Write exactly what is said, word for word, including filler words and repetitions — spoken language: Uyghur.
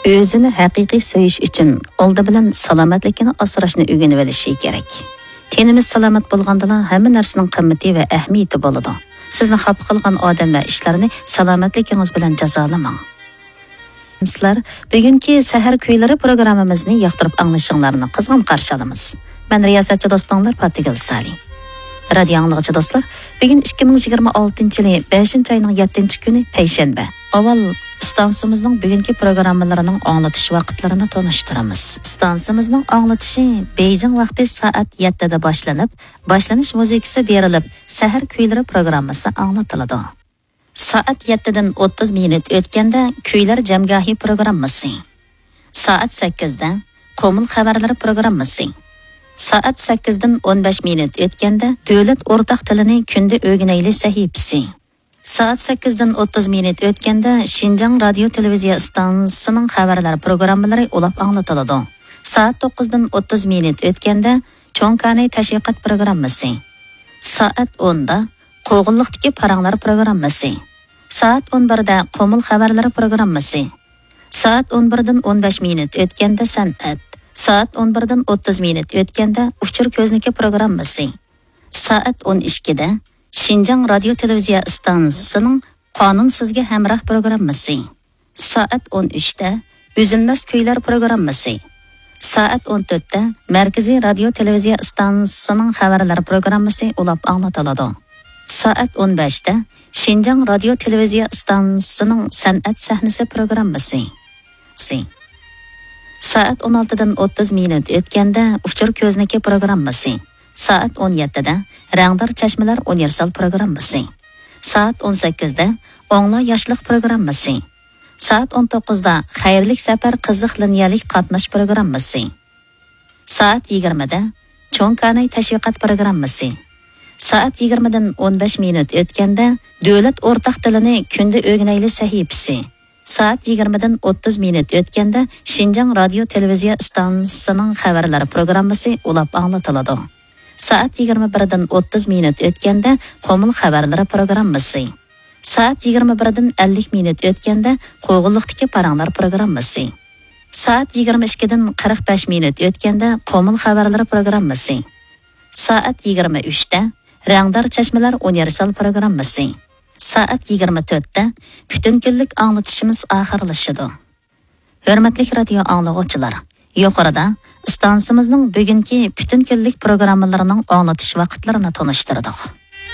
ئۆزىنى ھەقىقىي سۆيۈش ئۈچۈن ئالدى بىلەن سالامەتلىكىنى ئاسراشنى ئۆگىنىۋېلىشى كېرەك. تېنىمىز سالامەت بولغاندىلا ھەممە نەرسىنىڭ قىممىتى ۋە ئەھمىيىتى بولىدۇ. سىزنى خاپا قىلغان ئادەم ۋە ئىشلارنى سالامەتلىكىڭىز بىلەن جازالىماڭ. سىلەر بۈگۈنكى سەھەر كۈيلىرى پروگراممىمىزنى ياقتۇرۇپ ئاڭلىشىڭلارنى قىزغىن قارشى ئالىمىز. مەن رىياسەتچى دوستۇڭلار پاتىگۈل سالى. رادىيو ئاڭلىغۇچى دوستلار، بۈگۈن ئىككى مىڭ يىگىرمە ئالتىنچى يىلى بەشىنچى ئاينىڭ يەتتىنچى كۈنى، پەيشەنبە. ئاۋۋال ئىستانسىمىزنىڭ بۈگۈنكى پروگراممىلىرىنىڭ ئاڭلىتىش ۋاقىتلىرىنى تونۇشتۇرىمىز. ئىستانسىمىزنىڭ ئاڭلىتىشى بېيجىڭ ۋاقتى سائەت يەتتىدە باشلىنىپ، باشلىنىش مۇزىكىسى بېرىلىپ، سەھەر كۈيلىرى پروگراممىسى ئاڭلىتىلىدۇ. سائەت يەتتىدىن ئوتتۇز مىنۇت ئۆتكەندە كۈيلەر جەمگاھى پروگراممىسى. سائەت سەككىزدە قومۇل خەۋەرلىرى پروگراممىسى. سائەت سەككىزدىن ئون بەش مىنۇت ئۆتكەندە دۆلەت ئورتاق تىلىنى كۈندە ئۆگىنەيلى سەھىپىسى. سائەت سەككىزدىن ئوتتۇز مىنۇت ئۆتكەندە شىنجاڭ رادىيو تېلېۋىزىيە ئىستانسىسىنىڭ خەۋەرلەر پروگراممىلىرى ئۇلاپ ئاڭلىتىلىدۇ. سائەت توققۇزدىن ئوتتۇز مىنۇت ئۆتكەندە چوڭ كاناي تەشۋىقات پروگراممىسى. سائەت ئوندا قوغۇنلۇقتىكى پاراڭلار پروگراممىسى. سائەت ئون بىردە قومۇل خەۋەرلىرى پروگراممىسى. سائەت ئون بىردىن ئون بەش مىنۇت ئۆتكەندە سەنئەت. سائەت ئون بىردىن ئوتتۇز مىنۇت ئۆتكەندە ئۇچۇر كۆزنىكى پروگراممىسى. سائەت ئون ئىككىدە شىنجاڭ رادىيو تېلېۋىزىيە ئىستانسىسىنىڭ قانۇن سىزگە ھەمراھ پروگراممىسى. سائەت ئون ئۈچتە ئۈزۈلمەس كۈيلەر پروگراممىسى. سائەت ئون تۆتتە مەركىزىي رادىيو تېلېۋىزىيە ئىستانسىسىنىڭ خەۋەرلەر پروگراممىسى ئۇلاپ ئاڭلىتىلىدۇ. سائەت ئون بەشتە شىنجاڭ رادىيو تېلېۋىزىيە ئىستانسىسىنىڭ سەنئەت سەھنىسى پروگراممىسى. سائەت ئون ئالتىدىن ئوتتۇز مىنۇت ئۆتكەندە ئۇچۇر كۆزنىكى پروگراممىسى. سائەت ئون يەتتىدە رەڭدار چەشمىلەر ئۇنىۋېرسال پروگراممىسى. سائەت ئون سەككىزدە ئوڭلا ياشلىق پروگراممىسى. سائەت ئون توققۇزدا خەيرلىك سەپەر قىزىق لىنىيەلىك قاتناش پروگراممىسى. سائەت يىگىرمىدە چوڭ كاناي تەشۋىقات پروگراممىسى. سائەت يىگىرمىدىن ئون بەش مىنۇت ئۆتكەندە دۆلەت ئورتاق تىلىنى كۈندە ئۆگىنەيلى سەھىپىسى. سائەت يىگىرمىدىن ئوتتۇز مىنۇت ئۆتكەندە شىنجاڭ رادىيو تېلېۋىزىيە ئىستانسىسىنىڭ خەۋەرلەر پروگراممىسى ئۇلاپ ئاڭلىتىلىدۇ. سائەت يىگىرمە بىردىن ئوتتۇز مىنۇت ئۆتكەندە قومۇل خەۋەرلىرى پروگراممىسى. سائەت يىگىرمە بىردىن ئەللىك مىنۇت ئۆتكەندە قوغۇنلۇقتىكى پاراڭلار پروگراممىسى. سائەت يىگىرمە ئىككىدىن قىرىق بەش مىنۇت ئۆتكەندە قومۇل خەۋەرلىرى پروگراممىسى. سائەت يىگىرمە ئۈچتە رەڭدار چەشمىلەر ئۇنىۋېرسال پروگراممىسى. سائەت يىگىرمە تۆتتە پۈتۈن كۈنلۈك ئاڭلىتىشىمىز ئاخىرلىشىدۇ. ھۆرمەتلىك رادىيو ئاڭلىغۇچىلار، يۇقىرىدا ئىستانسىمىزنىڭ بۈگۈنكى پۈتۈن كۈنلۈك پروگراممىلىرىنىڭ ئاڭلىتىش ۋاقىتلىرىنى تونۇشتۇردۇق.